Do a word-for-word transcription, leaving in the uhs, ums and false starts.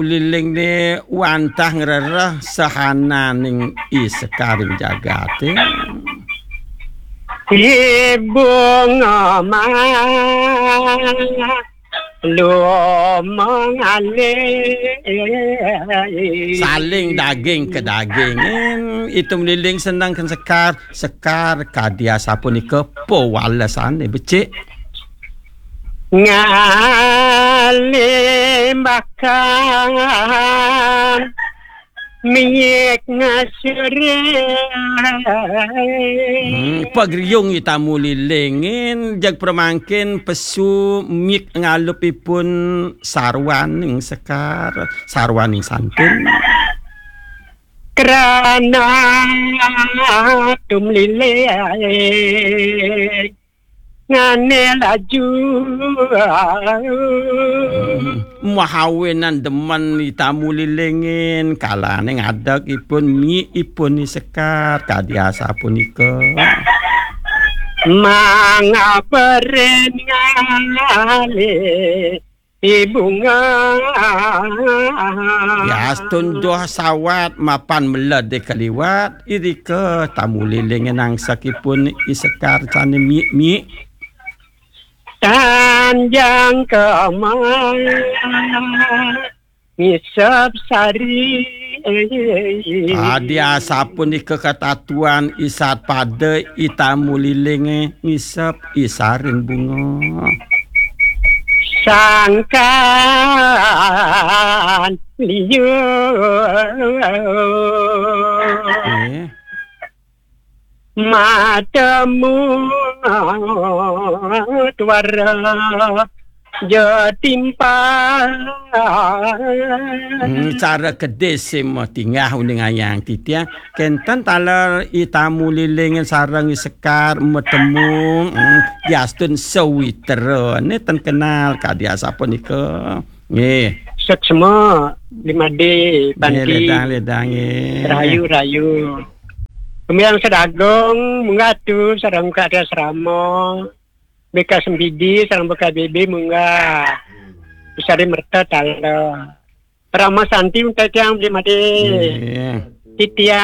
Liling ni wantah ngrereh sahananing i sekaring jagate. Ibu ngomah lu mengalih. Saling daging ke dagingin, I Tum Liling seneng ken Sekar, Sekar kadi asapunika pawalesane becik. Ngalih bakal mik ngasure. Hmm, pagriung I Tamu Lilingin, jeg pramangkin pesu mik ngalupipun sarwaning Sekar, sarwaning santun. Krana Tum Liling ngane laju. Hmm, mahawinan demen I Tamu Lilingin, kalane ngadeg ipun mik ipun I Sekar, kadi asapunika. Mangga peren ngalih I Bunga. Yastun doh sawat mapan meled kaliwat, irika Tamu Liling nangsekipun I Sekar sane mik-mik. Tanjang kemah ngisep sari. Adi asapunika katatuan I Sat Pada, I Tamu Lilinge ngisep I Sarin Bunga. Sangkan liu. Eh. Matemu tuara jetimpal. Hmm, cara kedis sima tingah uning ayang titiang. Kenten taler I Tamu Liling sareng I Sekar matemu, hmm, diastun sawitra. Neten kenal kadi asapunika. Nggih. Seksema Limade. Nggih, Panti. Ledang, ledang, nggih. Rahayu, rahayu. Kemiang Sedagung, munggah tu, sareng Kak Asrama. B K Sempidi, sareng B K B B, munggah. Usari merta tala. Rama Santi, untai tiang Limade. Nggih. Titiang